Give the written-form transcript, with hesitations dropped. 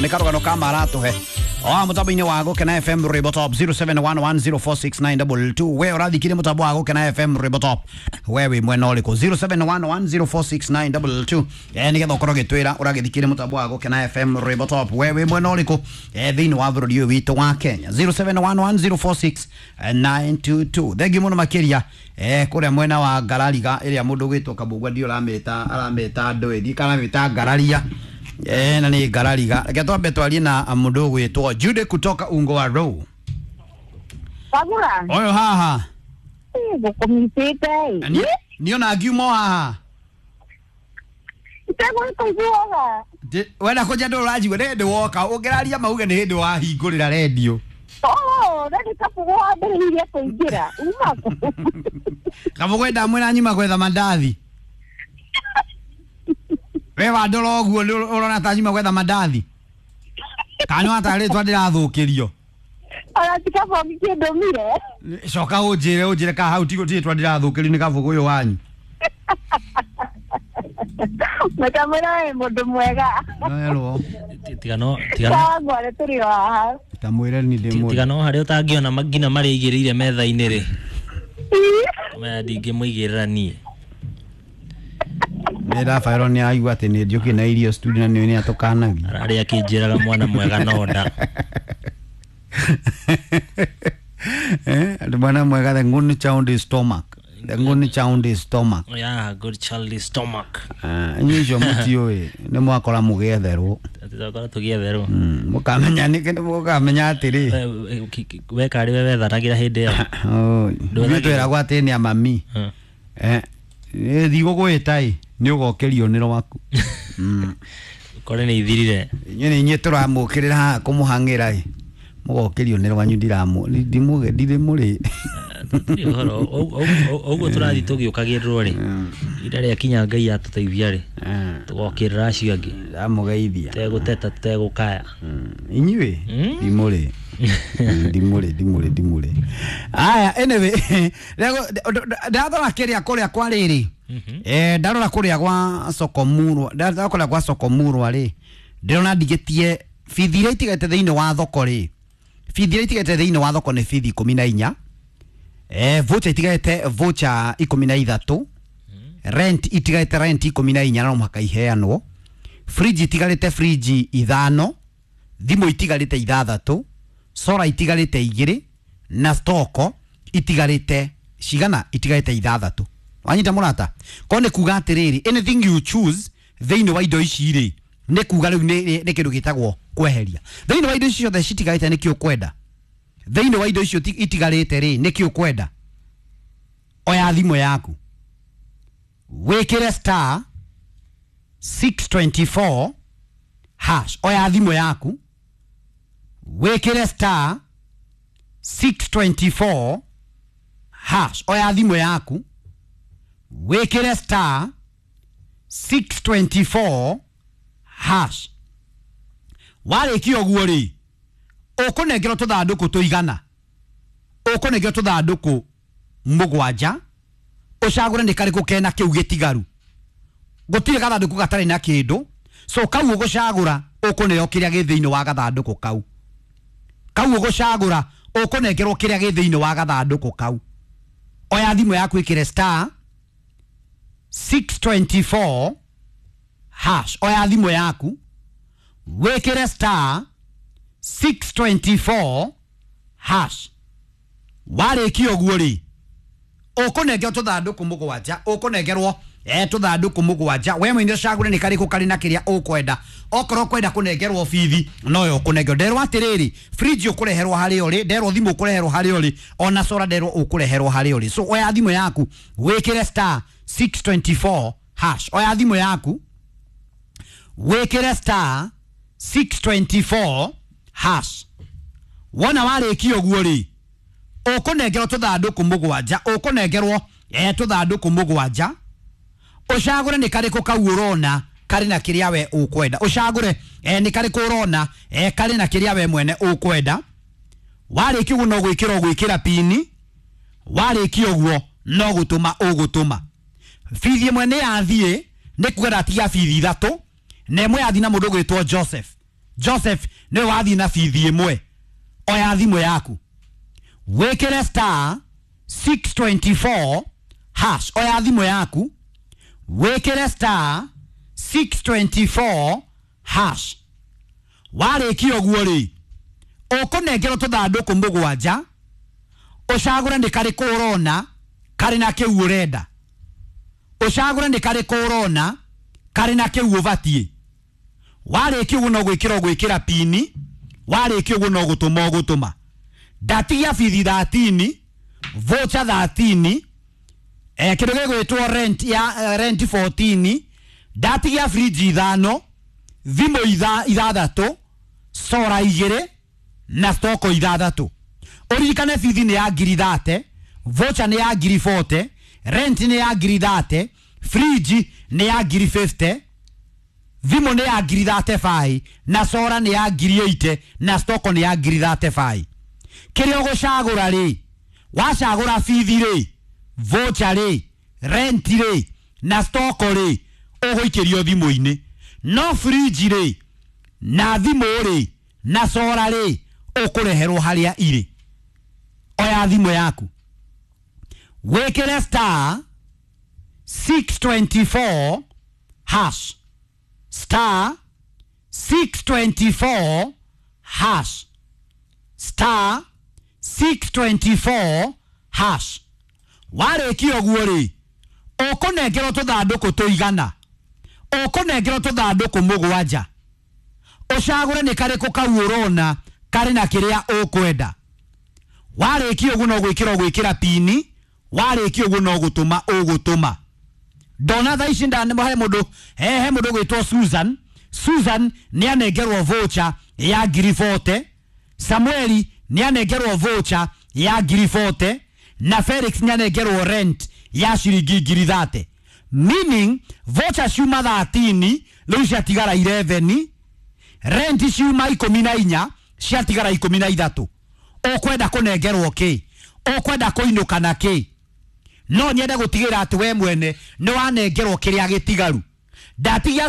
Nĩ karũgano ka maratuhe o mũtambo-inĩ wa Gũkena FM Rwĩmbo Top 0711046922. We ũrathikire mũtambo wa Gũkena FM Rwĩmbo Top, we wĩ mwena ũrĩkũ? 0711046922, nĩgetha ũkorwo ũgĩtwĩra ũragĩthikire mũtambo wa Gũkena FM Rwĩmbo Top, we wĩ mwena ũrĩkũ thĩinĩ wa bũrũri ũyũ witũ wa Kenya. 0711046922. Thengiũ mũno makĩria kũrĩa mwena wa Ngarariga ĩrĩa mũndũ ũgwĩtwo Kabugwa ndio ũramĩta, aramĩta ndũĩ kana aramĩta Ngararia, na nĩ Ngarariga. Reke twambe twarie na mũndũ ũgwĩtwo Jude kutoka Ungo wa Row. Kagura. Ũyũ haha. Ngũkũmitĩte. Niĩ ona ngiuma o haha. Itegũkũiguaga. Wenda kũnja ndũ ũranjigua nĩ hĩndĩ woka ũngĩraria mauge nĩ hĩndĩ wahingũrĩra rendio. Oh, na nĩ Kabũgũ wambĩrĩirie kũingĩra. Uma kũ? Kabũgũ ndamwĩra nyuma gwetha mandathi. We wandora ũguo nĩ ũrona ta nyuma gwetha mandathi? Kana nĩ watarĩtwa ndĩrathũkĩrio? Ona ti Kabũgũ kĩndũmire. Coka ũnjĩre, ũnjĩre kana hau tiguo tirĩtwa ndĩrathũkĩrio nĩ Kabũgũ ũyũ wanyu. Makamwĩra wĩ mũndũ mwega. Noerwo. Tiga no tiga no. Sawa ngware tũrĩ o haha. Tamwĩre ni ndĩ mũndũ. Tiga no harĩa ũtangĩona nginya marĩa aigĩrĩire metha-inĩ rĩ. Maya ndingĩmũigĩrĩra niĩ. Nĩ Rafael nĩ aigua atĩ nĩ njũkĩ na irio studio na nĩ atũkanagia. Ararĩa akĩnjĩraga mwana mwega no nda. Mwana mwega, the good child is stomach. The good child is stomach. Yeah, good child is stomach. Inyuĩ icio mũtiũĩ nĩ mwakora mũgĩetherwo. Tũgakora tũgĩetherwo. Mũkamenya nĩ mũkamenya atĩrĩ. We karĩ we wethanagĩra hĩndĩ ĩyo. Ithuĩ twĩragwo atĩ nĩ amami. Thigũgwĩta ĩ nĩ ũgokĩrio nĩ rwaku. Kore nĩ ithirire. Inyuĩ nĩ inyuĩ tũramũkĩrĩra haha kũmũhang'ĩra ĩ mũgokĩrio nĩ rwanyu ndirĩmũrĩ. Tũtirĩ ũhoro ũguo tũrathiĩ tũgĩũkagĩrĩrwo rĩ, ihinda rĩakinya Ngai atũteithia rĩ, tũgokĩrĩra acio angĩ. Ndamũgeithia. Tũtegũteta tũtegũkaya. Inyuĩ ndimũrĩ. Ndimũrĩ ndimũrĩ ndimũrĩ. Aya, anyway, ndathora kĩrĩa kũrĩa kwa rĩrĩ. Ndarora kũrĩa gwa Sokomurwa, ndarora kũrĩa gwa Sokomurwa rĩ, ndĩrona ndigĩtie bithi iria itigaite thĩinĩ wa thoko rĩ. Bithi iria itigaite thĩinĩ wa thoko nĩ bithi 14. Voucher itigaite voucher 13. Rent itigaite rent 14 na no mũhaka iheanwo. Fridge itigarĩte fridge 5, thimũ itigarĩte 6, solar itigarĩte 2 na stoko itigarĩte cigana? Itigarĩte 6. Wanyita mũrata? Ko nĩ kuga atĩrĩrĩ, anything you choose thĩinĩ wa indo ici rĩ, nĩ kuga rĩu nĩ kĩndũ gĩtagwo kweheria. Thĩinĩ wa indo ici ciothe citigarĩte nĩkĩ ũkwenda? Thĩinĩ wa indo icio itigarĩte rĩ, nĩkĩ ũkwenda? Oya thimũ yaku wĩkĩre star 624 hash. Oya thimũ yaku wĩkĩre star 624 hash. Oya thimũ yaku wĩkĩre star 624 hash. Warĩkia ũguo rĩ, ũkũnengerwo tũthandũkũ tũigana, ũkũnengerwo tũthandũkũ 7, ũcagũre nĩ karĩkũ kena kĩu gĩtigaru. Gũtirĩ gathandũkũ gatarĩ na kĩndũ, so kau ũgũcagũra ũkũneo kĩrĩa gĩ thĩinĩ wa gathandũkũ kau. Kau ũgũcagũra ũkũnengerwo kĩrĩa gĩ thĩinĩ wa gathandũkũ kau. Oya thimũ yaku ĩkĩre star 624 hash. Oya thimũ yaku wĩkĩre star 624 hash. Warĩkia ũguo rĩ, ũkũnengerwo tũthandũkũ 7, ũkũnengerwo tũthandũkũ 7. We mwene ũcagũre nĩ karĩkũ karĩ na kĩrĩa ũkwenda. Okorwo ũkwenda kũnengerwo bithi noyo ũkũnengerwo. Nderwo atĩrĩrĩ, fridge ũkũreherwo harĩa ũrĩ, nderwo thimũ ũkũreherwo harĩa ũrĩ, ona solar nderwo ũkũreherwo harĩa ũrĩ. So oya thimũ yaku wĩkĩre star 624 hash. Oya thimũ yaku wĩkĩre star 624 hash. Wona warĩkia ũguo rĩ, ũkũnengerwo tũthandũkũ 7, ũkũnengerwo tũthandũkũ 7. Ũcagũre nĩ karĩkũ kau ũrona karĩ na kĩrĩa we ũkwenda. Ũcagũre nĩ karĩkũ ũrona karĩ na kĩrĩa we mwene ũkwenda. Warĩkia ũguo no gwĩkĩra ũgwĩkĩra pini. Warĩkia ũguo no gũtũma ũgũtũma. Bithi ĩmwe nĩ yathiĩ, nĩ kuga ndatigia bithi 3, na ĩmwe yathiĩ na mũndũ ũgwĩtwo Joseph. Joseph nĩwe wathiĩ na bithi ĩmwe. Oya thimũ yaku wĩkĩre star 624 hash. Oya thimũ yaku wĩkĩre star 624 hash. Warĩkia ũguo rĩ, ũkũnengerwo tũthandũkũ mũgwanja, ũcagũre nĩ karĩkũ ũrona karĩ na kĩu ũrenda, ũcagũre nĩ karĩkũ ũrona karĩ na kĩu ũbatiĩ. Warĩkia ũguo no gwĩkĩra ũgwĩkĩra pini, warĩkia ũguo no gũtũma ũgũtũma. Ndatigia bithi 13, voucher 13, kĩndũ gĩgwĩtwo rent ya rent 14, ndatigia fridge ithano, thimũ ithathatũ, sora igĩrĩ na stoko ithathatũ. Ũririkane bithi nĩ ya ngiri 30, voucher nĩ ya ngiri 40, rent nĩ ya ngiri 30, fridge nĩ ya ngiri 50, thimũ nĩ ya ngiri 35 na sora nĩ ya ngiri 80 na stoko nĩ ya ngiri 35. Kĩrĩa ũgũcagũra rĩ, wacagũra bithi rĩ, voucher rĩ, rent rĩ na stoko rĩ, ũgũikĩrio thimũ-inĩ. No fridge rĩ na thimũ rĩ na sora rĩ, ũkũreherwo harĩa irĩ. Oya thimũ yaku wĩkĩre star 624 hash, star 624 hash, star 624 hash. Warĩkia ũguo rĩ, ũkũnengerwo tũthandũkũ tũigana, ũkũnengerwo tũthandũkũ mũgwanja, ũcagũre nĩ karĩkũ kau ũrona karĩ na kĩrĩa ũkwenda. Warĩkia ũguo no gwĩkĩra ũgwĩkĩra pini, warĩkia ũguo no gũtũma ũgũtũma. Ndona thaa ici he mũndũ he mũndũ ũgwĩtwo Susan. Susan nĩ anengerwo voucher ya ngiri 40, Samueli nĩ anengerwo voucher ya ngiri 40 na Felix nĩ anengerwo rent ya ciringi ngiri 30. Meaning voucher ciuma 13 rĩu ciatigara 11, rent ciuma 14 ciatigara 13. Ũkwenda kũnengerwo kĩ? Ũkwenda kũinũka na kĩ? No nyende gũtigĩra atĩ we mwene nĩ wanengerwo kĩrĩa gĩtigaru. Ndatigia